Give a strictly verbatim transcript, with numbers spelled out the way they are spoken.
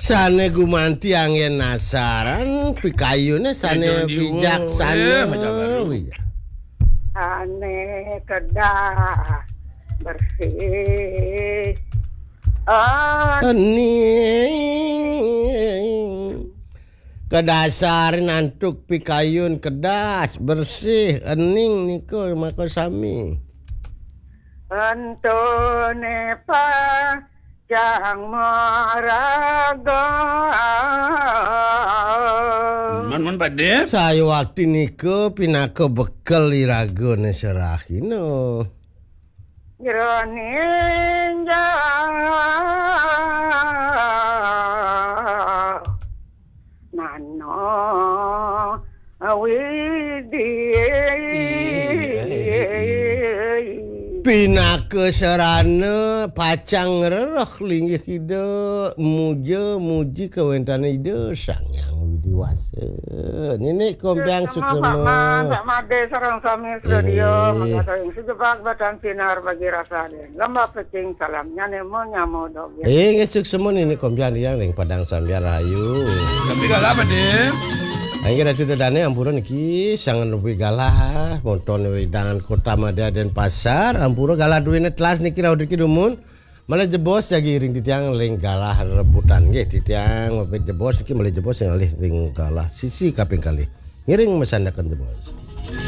Sané gumanti anggén nasaran, pikayuné sané bijaksana. Wi. Sané kedah bersih. Ening. Kadasarin antuk pikayun kedas, bersih, ening nika maka sami. Entone pacang maraga. Man, man, Pak Dé. Sayuwakti nika pinaka bekel iragane serahina. Jroning jalan nano widi. Pinaka sarana pacang ngrereh linggih Ida, muja muji kawéntenan Ida Sang Hyang Widi Wasa. Nini kompiang suksma, suksma. Pak Man, Pak Madé sareng sami studio, mangga ing sujebak batan sinar bagi rasa. Lembah pecing salamnya nemo nyamo dog ya. Inggih suksma nini kompiang ring Padang Sambian Rahayu. Tapi galah apa, Dé? Inggih Ratu Dadane ampura niki sanget nupi galah monton wedangan Kota Madya Denpasar, ampura galah duwene telas niki rauh niki dumun. Malih jebos jagi ring titiang ring galah rebutan nggih titiang mapit jebos niki malih jebos ngalih ring galah sisi kaping kalih. Ngiring masandekan jebos.